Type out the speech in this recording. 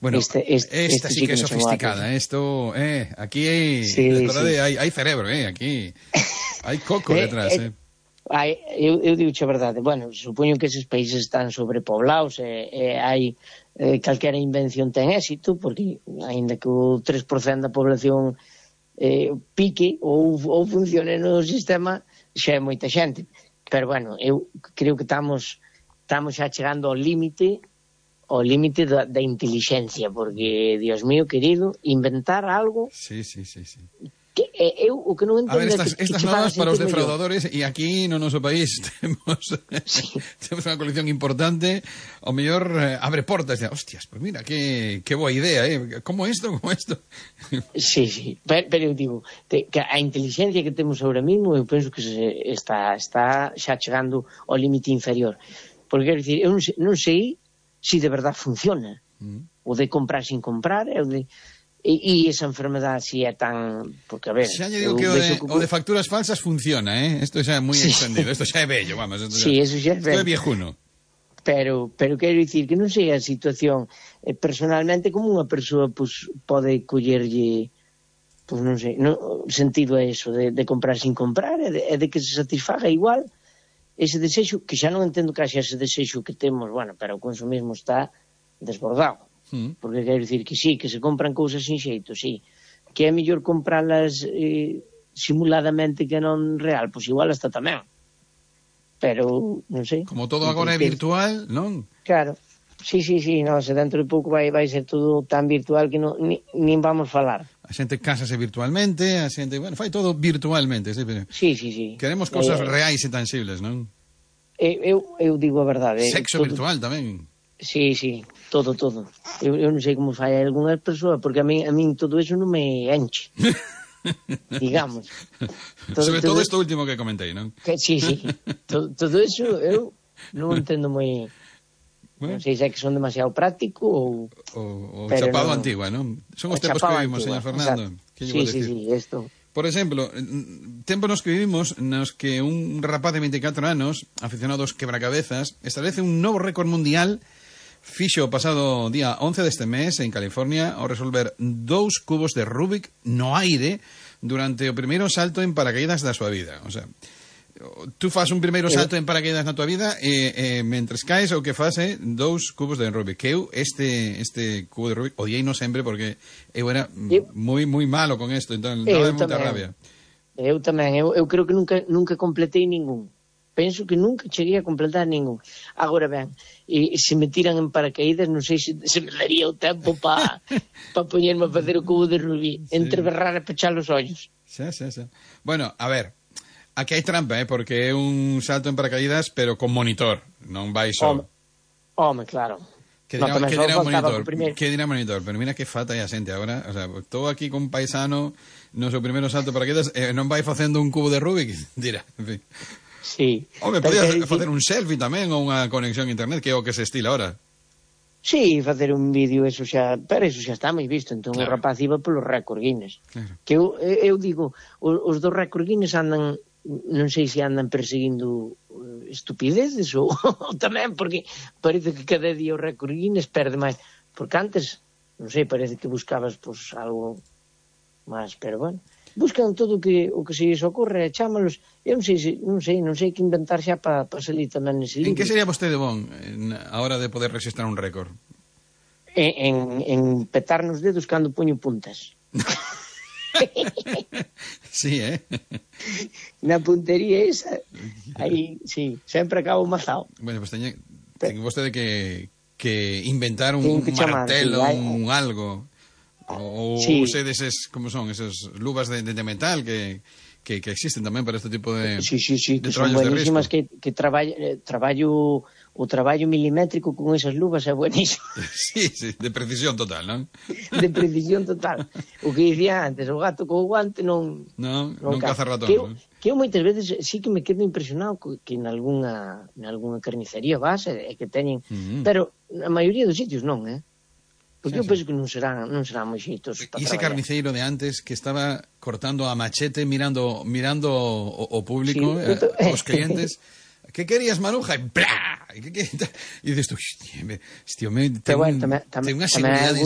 Bueno, esta sí que é sofisticada, isto, aquí hai cerebro, aquí hai coco detrás, Eu digo a verdade, bueno, supoño que eses países están sobrepoblados e hai calquera invención ten éxito, porque aínda que o 3% da población pique ou funcione no sistema, xa é moita xente. Pero bueno, eu creo que estamos xa chegando ao límite da inteligencia, porque, Dios mío querido, inventar algo... Sí. Que o que non entendo... A ver, estas normas para os defraudadores, e aquí no noso país temos unha colección importante, ao mellor abre portas, e hostias, pues mira, que boa idea, como isto? Sí, pero eu digo, que a inteligencia que temos ahora mismo, eu penso que está xa chegando ao límite inferior. Porque, quero dicir, eu non sei se de verdad funciona, o de comprar sin comprar, o de... E esa enfermedade si é tan... Porque, a ver... Xa lle digo que o de facturas falsas funciona, Isto xa é moi extendido, isto xa é bello, vamos. Sí, eso xa é bello. Isto é viejuno. Pero quero dicir que non sei a situación personalmente como unha persoa pode collerlle non sei, sentido a eso de comprar sin comprar e de que se satisfaga igual ese desexo, que xa non entendo que haxa ese desexo que temos, bueno, pero o consumismo está desbordado. Porque quero dicir que sí, que se compran cousas sin xeito, sí, que é mellor compralas simuladamente que non real, pois igual hasta tamén, pero non sei, como todo agora é virtual, non? Claro, sí, no, se dentro de pouco vai ser todo tan virtual que nin vamos falar. A xente cásase virtualmente, a xente, bueno, fai todo virtualmente, sí. Queremos cousas reais e tangibles, non? Eu digo a verdade, sexo virtual tamén. Sí, todo. Eu non sei como fai algunha persoa, porque a min todo eso non me enche. Digamos. Sobre todo isto último que comentei, non? Sí. Todo eso eu non entendo moi... Non sei se é que son demasiado práctico ou chapado antigua, non? Son os tempos que vivimos, señor Fernando. Sí, isto... Por exemplo, tempos nos que vivimos nos que un rapaz de 24 anos, aficionado aos quebracabezas, establece un novo récord mundial fixo o pasado día 11 deste mes en California ao resolver 2 cubos de Rubik no aire durante o primeiro salto en paracaídas da súa vida. O sea, tú fas un primeiro salto en paracaídas na tua vida e mentres caes o que fas é 2 cubos de Rubik. Que eu este cubo de Rubik odiei no sempre porque eu era moi malo con isto, entón daba moita rabia. Eu tamén, eu creo que nunca completei ningún. Penso que nunca cheguei a completar ningún. Agora ben, se me tiran en paracaídas, non sei se me daría o tempo para poñerme a facer o cubo de Rubik, entre berrar e pechar os ollos. Xa. Bueno, a ver, aquí hai trampa, porque é un salto en paracaídas, pero con monitor, non vai só. Home, claro. Que dirá un monitor, pero mira que falta aí a xente agora, o sea, estou aquí con un paisano no seu primeiro salto en paracaídas, non vai facendo un cubo de Rubik, dirá, en fin. Sí. Home, podías facer un selfie tamén ou unha conexión a internet, que é o que se estila ahora. Sí, facer un vídeo, pero eso xa está moi visto, entón claro. O rapaz iba polo récord Guinness. Claro. Que eu digo, os dos récord Guinness andan, non sei se andan perseguindo estupideces ou tamén, porque parece que cada día o récord Guinness perde máis, porque antes, non sei, parece que buscabas pues, algo máis, pero bueno, buscan todo o que se lles ocorre, chámalos, eu non sei que inventar xa para salir tamén nese libro. En que sería vostede bon a hora de poder registrar un récord? En petar nos dedos cando poño puntas. Sí, Na puntería esa, aí, sí, sempre acabo mazao. Bueno, pues ten vostede que inventar un martelo, un algo... Ou sei deses, como son, esas luvas de metal que existen tamén para este tipo de sí, que son buenísimas, que o traballo milimétrico con esas luvas é buenísimo. Sí, de precisión total, non? De precisión total. O que dicía antes, o gato co guante non caza ratón. Que eu moitas veces sí que me quedo impresionado que en algunha carnicería vas e que teñen, pero na maioría dos sitios non, Porque eu penso que non serán moi xeitos para traballar. E ese carniceiro de antes que estaba cortando a machete mirando o público, os clientes, que querías, Maruja? E plá! E dices tú, hostia, ten unha seguridade